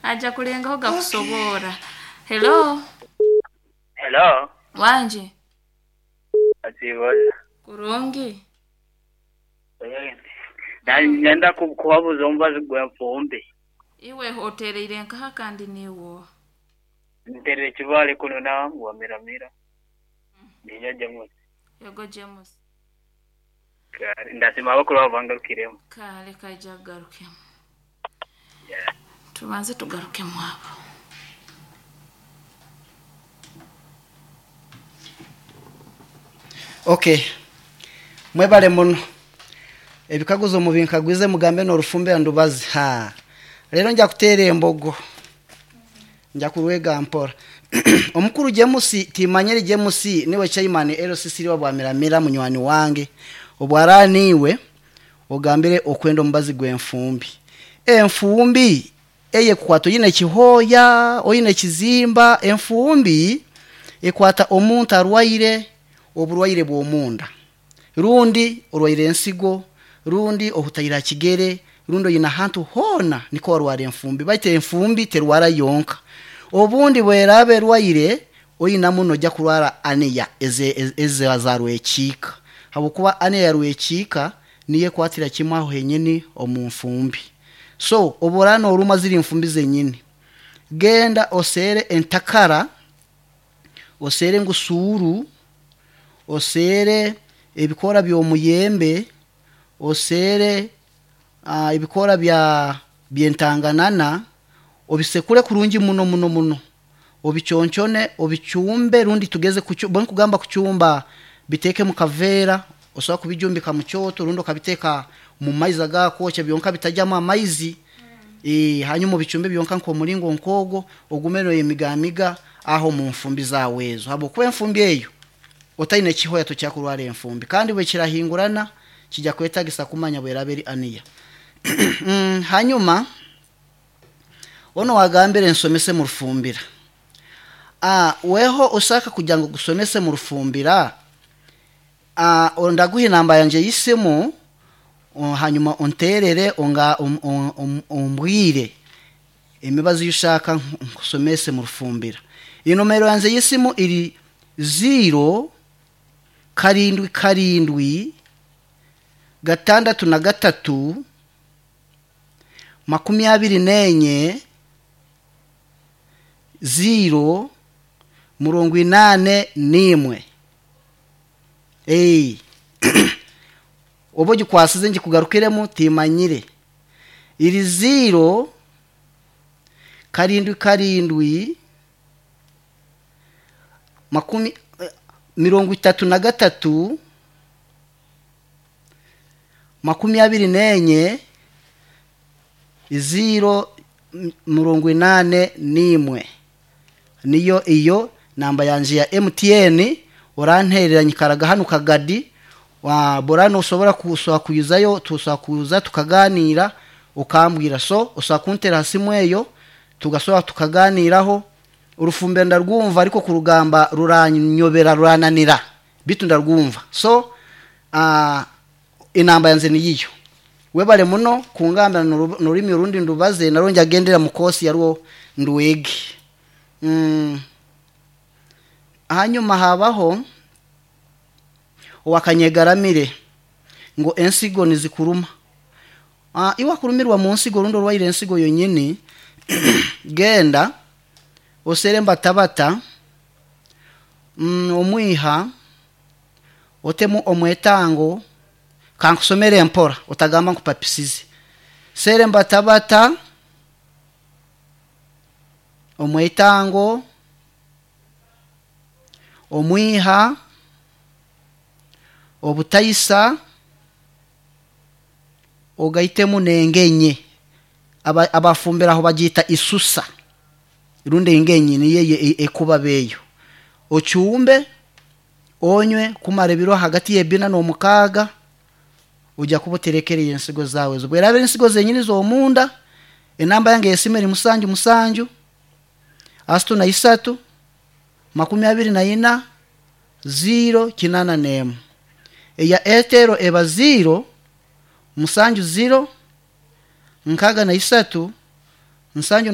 Aja kulengaho gakusoboora. Hello. Hello. Wangi. Asiiboza. Kurungi. Nenda kubabuza omubazi gw'enfumbi. Iwe otereire nkaha kandi niiwe oha? Nterere Kibaale kunu nangwa Miramira. Niinya James. Yego James. Kare ndasiima abakuru abo bangarukiremu. Kale kaija kugarukemu. Tubanze tugarukemu abo. Okay, mwebale muno. Ebikaguzo mubinkagwize mugambe n'orufumbira ndubazi. Ha, rero nja kuteera embogo, nja kurwega mpora. Omukuru James timanyeri James niwe chairman LCC wa Bwamiramira munywani wange. Obwara niwe ogambire okwenda omubazi gw'enfumbi. Enfumbi eye kukwata oyine kihoya, oyine kizimba. Enfumbi ekwata omuntu arwaire oburwaire bw'omunda, rundi orwaire ensigo, rundi ohutaire kigere, rundi oyine ahantu hoona niko warwara enfumbi. Baitu enfumbi terwara yonka, obundi bweraba erwaire oyina muno ojja kurwara aniya eze za rwekiika, habwokuba aniya ya rwekiika niyo ekwatira kimwe aho henyini omu nfumbi. So obu oraaba norumwa ziri nfumbi zenyini, genda oseere entakara, oseere engusuuru, oseere ebikoora by'omuyembe, oseere ebikoora by'entanganana, obisekure kurungi muno muno muno, obiconchone, obichumbe, rundi tugeze bwe nkugamba kuchumba, biteeke mu kaveera, osobola kubijumbika mu kyoto rundi okabiteeka mu maizi agakwokya byonka bitajyamu amaizi. Hanyuma obichumbe byonka nk'omuringo nk'ogwo, ogume noyemigamiga aho mu nfumbi zaawe ezo, habwokuba enfumbi eyo otaine kihoya tokira kurwara enfumbi, kandi bwekirahingurana kijya kwetagisa kumanya bweraba eri aniya. Hanyuma ono wagambire nsomese mu rufumbira. Weho ushaka kugira ngo gusomese mu rufumbira, ndaguha inamba yanje y'isimu, hanyuma unterere onga ombwire emibazi y'ushaka nkusomese mu rufumbira. Inomero yanje y'isimu iri 0 7 7 6 3 24 0 81. Oba ogikwasize ngikugarukiremu timanyire. Iri 0 7 7 33 24 0 81. Niyo iyo namba yanje ya MTN. Oranterera nyikaraga hano Kagadi wa borano, usobora kuswa kuyizayo tuswa kuza tukaganira ukambwira. So uswa kuntera hasimu eyo tugasora tukaganiraho. Urufumbira ndarwumva ariko kurugamba ruranyobera rurananira, bitu ndarwumva. So inamba yanze niyiyo. Webale muno kungambira nururimi urundi ndubaze naronje agendera mu kosi yarwo nduwege. Hanyuma habaho owakanyegaramire ngo ensigo nizikuruma. Iwa kurumirwa mu nsigo rundo rwaire ensigo yonyini, genda osere mbatabata, omwiha otemu omwetango, kankusomere empora otagamba nkupapisize. Sere mbatabata, omwetango, omwiha, obutaisa, ogaitemu nengenye. Abafumbira aho bagita isusa, rundi engenye niyo ekuba beyo. Ochumbe onywe kumara ebiro hagati y'ebina n'omukaaga, ujya kuba oterekereye ensigo zawe ezo. Bweraba ensigo zenyini z'omunda, enamba yange y'esimu eri 7 7 63 24 0 81. Eya Airtel eba 0 7 0 63 7.